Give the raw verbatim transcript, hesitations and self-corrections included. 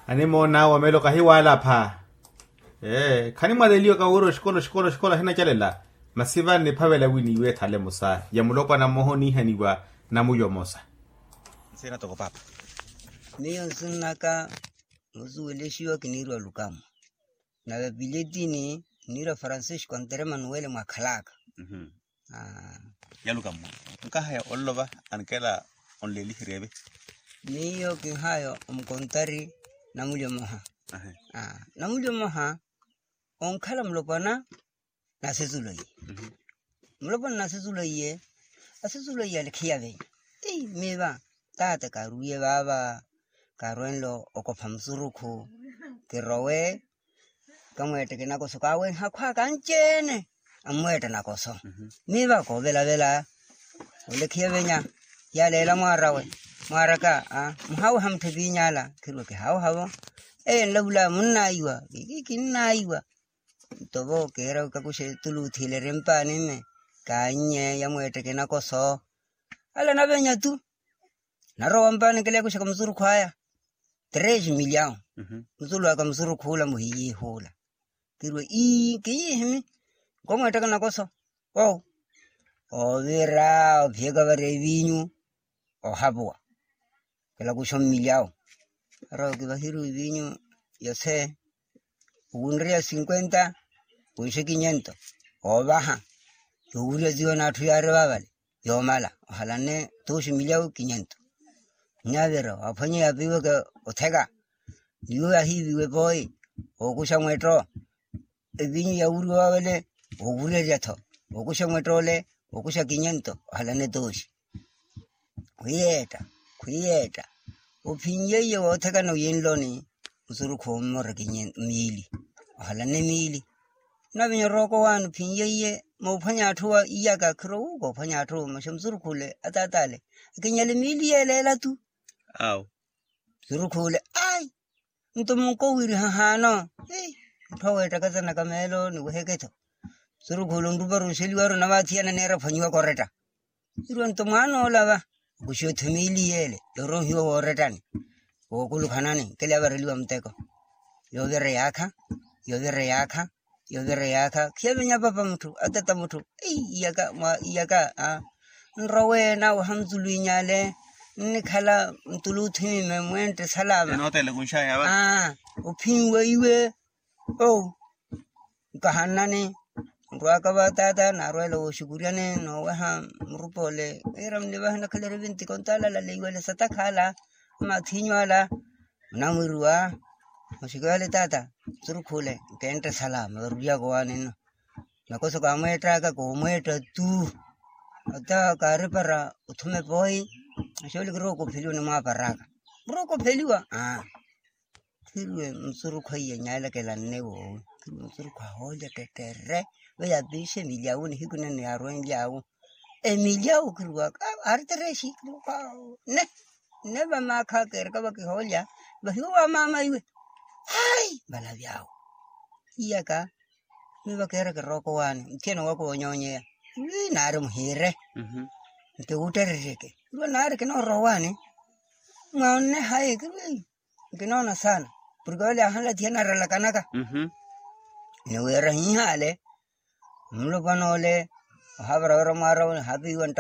Animoon'awe omelo kahiwaalapha. Ee khanimwaleliwa kawira oxikola oxikola oxikola ahinacalela. Masi vano niphavela wi niiwe ethale emosa ya mulopwana mmoha oniihaniwa. Namulyo mmosa. Nsiina toko paapa. Miyo nsinnaka musuwelexiwa kiniirwa lukamo. Nave piletini niirwa francisco antere manuwele mwakhalaka. Yaluka mmwe nkahaya onlova ankela onleliherya eve. Miyo kinhaya omukontari namulyo mmoha. Namulyo mmoha onkhala mulopwana nasesulo iye. Mulopwana nasesulo iye asesulo iye alekhiya venya. Miiva taata kaarwiye vaava kaarwenle okopha musurukhu kirowe kamweetteke nakoso kaawenha akhwaka anci-ene. Ammweetta nakoso miiva koovelavela olekhiya venya. Yaaleela mwaarawe mwaaraka muhaaweha mutthu epiiny'ala khirwe kihaaweha-vo. Eye nlavula munnaayiwa kikinnaayiwa. Nto vo keera wi kakuxe tuluuthiilerye mpaani mme kaannye yamweetteke nakoso ale anavenya tu. Narowa mpaani nkeleya kuxaka musurukhu aya. Tresi milyawu. Musulu aka musurukhu ula muhiyiihuula. Kirwe ii kiyihimi nkomweettaka nakoso. Oovira ophiyaka vari eviinyu ohapuwa. Kilakuxa mmilyawu. Arowa kivahiri eviinyu yose. Owunreya sinkwenta wiixe kinyento oovaha. Yowurya ziwa n'atthu yaari vaavale yoomala ohalanne tooxi milyawu kinyento. Nyaavira waaphwanya yaapiweke otheka. Niwo yahiiviwe pooyi ookuxa mwetto. Evinyu yawuriwa wawele woowurerya-tho. Wokuxa mwettoole wokuxa kinyento ohalane tooxi. Khwiyeetta khwiyeetta ophinnyeiye woothekana oyinloni. Musurukhu ommora miili ohalane miili. Navenya orookowaani ophinnyeiye moophwanya atthu wa iyaka khiro wu koophwanya atthu maxa musurukhu ole ataata ale akinyale miili yeeleela tu. Awo musurukhu ole ai nto munkowiriha haano. Mutthu aweettaka zanaka meelo niweheke-tho. Musurukhu ole onrupari onxeliwaru navaathiyana neera ophwanyiwa koretta. Irwa nto mwaan'ola va okuxiwa-tho miili yeele yoorohiwa woorettani wookulukhanani nkeleya vareliwa muteko. Yoovira yaakha yoovira yaakha yoovira yaakha khiyavenya papa mutthu atata mutthu. Iyaka mwa iyaka nrowe naweha mutuluinyale nnikhala mutuluuthimime mwentte salama. Aa ophinweiwe. Ou nkahannani nrwaka va taata naarwela wooxukuryani nooweha murupa ole. Wira mnivahe nakhalari vinti kontaala ala leiwale satakha ala amathinyu ala. Munamwiriwa oxukuryale taata nsurukhu ole nkentte salama varuryaka owaani nno. Nakoso kaamweettaka koomweetta tu. Ata kaaripara othuma epooyi. Axooli kirowa okopheliwa onimwaaparaka murowa okopheliwa. Khirwe musurukhu aiye nyaalakela nne woowi khirwe musurukhu ahoolya ttettere. Veyo apiixe emilyawu nihiku nene yaarwenlyawu. Emilyawu khirwaka aari tereexi khirwaka nne nne vamaakha keeraka vakihoolya vahiwa wa maama iwe. Ai valavyawu iyaka miva keera kirookowaani muthiyana waka woonyoonyeya. Wi naari muhiire nti wuuttereryeke khirwa naari kinoorowaani. Mwaonne hayi khirwi nkinoona saana porke ole ahanla thiyana aralakanaka. Ni wira hihaale mulopwana ole ohaavara wira mwaarawe ohaapeiwa ntta.